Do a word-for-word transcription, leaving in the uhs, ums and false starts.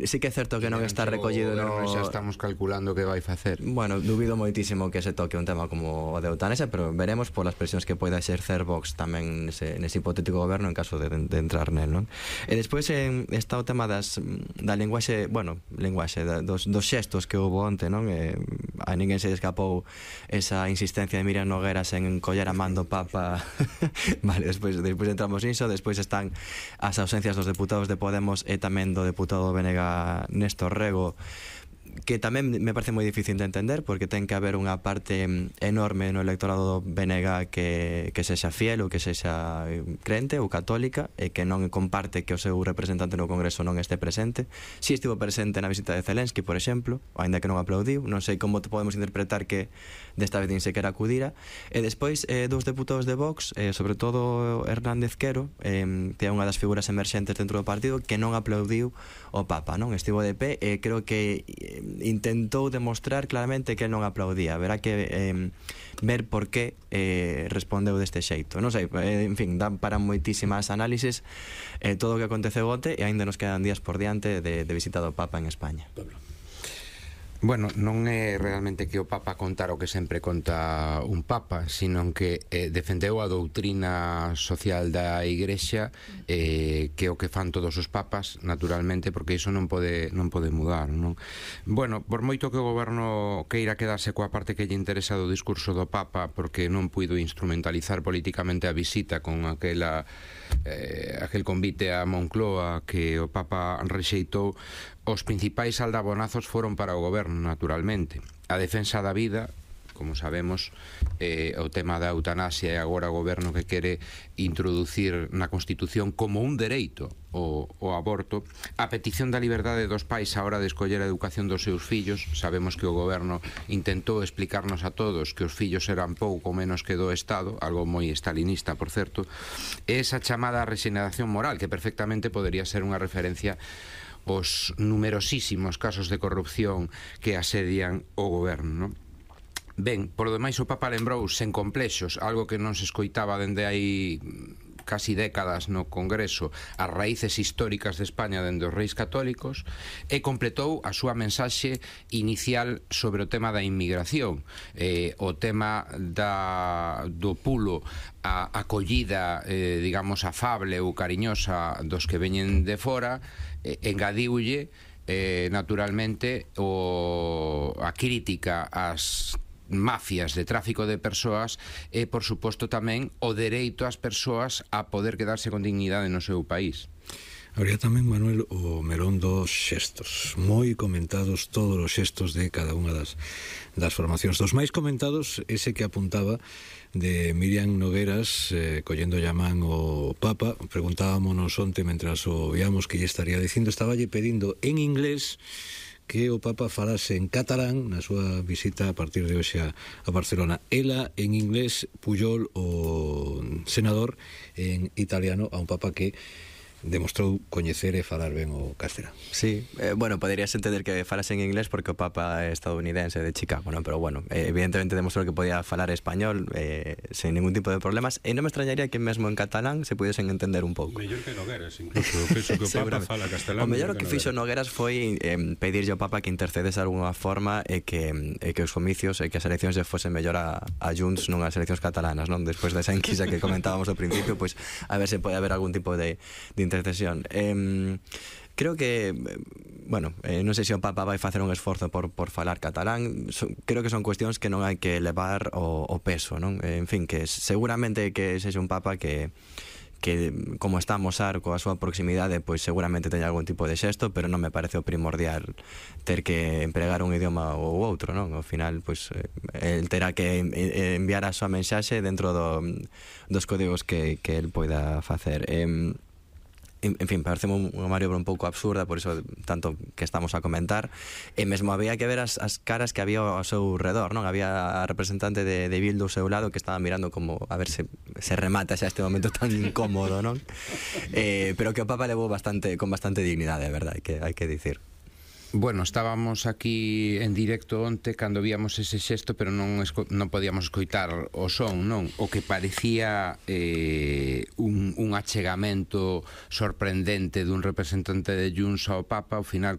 sí que é certo que non está recollido no... Xa estamos calculando que vai facer. Bueno, dubido moitísimo que se toque un tema como o de eutanasia, pero veremos polas presións que poida exercer Vox tamén nese, nese hipotético goberno en caso de, de entrar nel, non? E despois eh, está o tema das, da linguaxe, bueno, linguaxe, da, dos, dos xestos que houve onte, non? Eh, a ninguén se escapou esa insistencia de Miriam Nogueras en coller a man do Papa. Vale, despois, despois entramos niso. Despois están as ausencias dos deputados de Podemos e tamén do deputado Bénega Néstor Rego, que tamén me parece moi difícil de entender, porque ten que haber unha parte enorme no electorado do B N G que, que sexa fiel ou que sexa crente ou católica e que non comparte que o seu representante no Congreso non este presente. Si estivo presente na visita de Zelensky, por exemplo, ainda que non aplaudiu. Non sei como podemos interpretar que desta vez nin sequera acudira. E despois eh, dous deputados de Vox, eh, sobre todo Hernández Quero, eh, que é unha das figuras emerxentes dentro do partido, que non aplaudiu o Papa, non? Estivo de pé e creo que eh, intentou demostrar claramente que non aplaudía. Verá que eh, ver por que eh, respondeu deste xeito. Non sei, eh, en fin, dan para moitísimas análisis eh, todo o que aconteceu onte, e aínda nos quedan días por diante de, de visita do Papa en España. Pablo. Bueno, non é realmente que o Papa contara o que sempre conta un Papa, sino que eh, defendeu a doutrina social da Igrexa, eh, que é o que fan todos os papas, naturalmente, porque iso non pode non pode mudar, non? Bueno, por moito que o goberno queira quedarse coa parte que lle interesa do discurso do Papa, porque non puido instrumentalizar políticamente a visita con aquela eh, aquel convite a Moncloa que o Papa rexeitou, os principais aldabonazos foron para o goberno, naturalmente. A defensa da vida, como sabemos, eh, o tema da eutanasia, e agora o goberno que quere introducir na Constitución como un dereito o, o aborto, a petición da liberdade dos pais a hora de escoller a educación dos seus fillos. Sabemos que o goberno intentou explicarnos a todos que os fillos eran pouco menos que do Estado, algo moi stalinista, por certo, e esa chamada regeneración moral, que perfectamente podería ser unha referencia os numerosísimos casos de corrupción que asedian o goberno, non? Ben, por lo demais o Papa lembrou sen complexos algo que non se escoitaba dende hai casi décadas no Congreso, as raíces históricas de España dende os reis católicos, e completou a súa mensaxe inicial sobre o tema da inmigración, eh, o tema da, do pulo a acollida, eh, digamos, afable ou cariñosa dos que veñen de fora. Eh, engadiulle eh, naturalmente o, a crítica ás mafias de tráfico de persoas e, por suposto, tamén o dereito ás persoas a poder quedarse con dignidade no seu país. Habría tamén, Manuel, o melón dos xestos. Moi comentados todos os xestos de cada unha das, das formacións. Dos máis comentados, ese que apuntaba de Miriam Nogueras eh, collendo llamán o Papa. Preguntábamos onte, mentras o víamos, que lle estaría dicindo, estaba lle pedindo en inglés que o Papa falase en catalán na súa visita a partir de hoxe a, a Barcelona. Ela en inglés, Pujol, o senador, en italiano, a un Papa que demostrou coñecer e falar ben o castelán. Sí, eh, bueno, poderías entender que falase en inglés porque o Papa é estadounidense de Chicago, non? Pero bueno, eh, evidentemente demostrou que podía falar español eh, sen ningún tipo de problemas, e non me extrañaría que mesmo en catalán se pudiesen entender un pouco. Mellor que Nogueras, incluso. Penso que o Papa fala castelán. O mellor que fixo Nogueras foi eh, pedirlle ao Papa que intercedese de alguna forma e que, e que os comicios e que as eleccións lle fosen mellor a, a Junts non as eleccións catalanas, non? Despois desa enquisa que comentábamos ao principio, pois pues, a ver se pode haber algún tipo de, de intercesión. Eh, creo que, bueno, eh, non sei se o Papa vai facer un esforzo por, por falar catalán. So, creo que son cuestións que non hai que levar o, o peso, non? Eh, en fin, que seguramente que sexa un Papa que que como está a mosar coa súa proximidade, pois seguramente teña algún tipo de xesto, pero non me parece o primordial ter que empregar un idioma ou outro, non? Ao final, pois, el terá que enviar a súa mensaxe dentro do, dos códigos que, que el poida facer. Eh, En, en fin, parece unha maniobra un pouco absurda, por iso tanto que estamos a comentar, e mesmo había que ver as, as caras que había ao seu redor, non? Había a representante de, de Bildu ao seu lado que estaba mirando como a ver se, se remata xa este momento tan incómodo, non? Eh, pero que o Papa levou bastante, con bastante dignidade, a verdade, que hai que dicir. Bueno, estábamos aquí en directo onte cando víamos ese xesto, pero non, non podíamos escoitar o son, non? O que parecía eh, un, un achegamento sorprendente dun representante de Junts ao Papa, ao final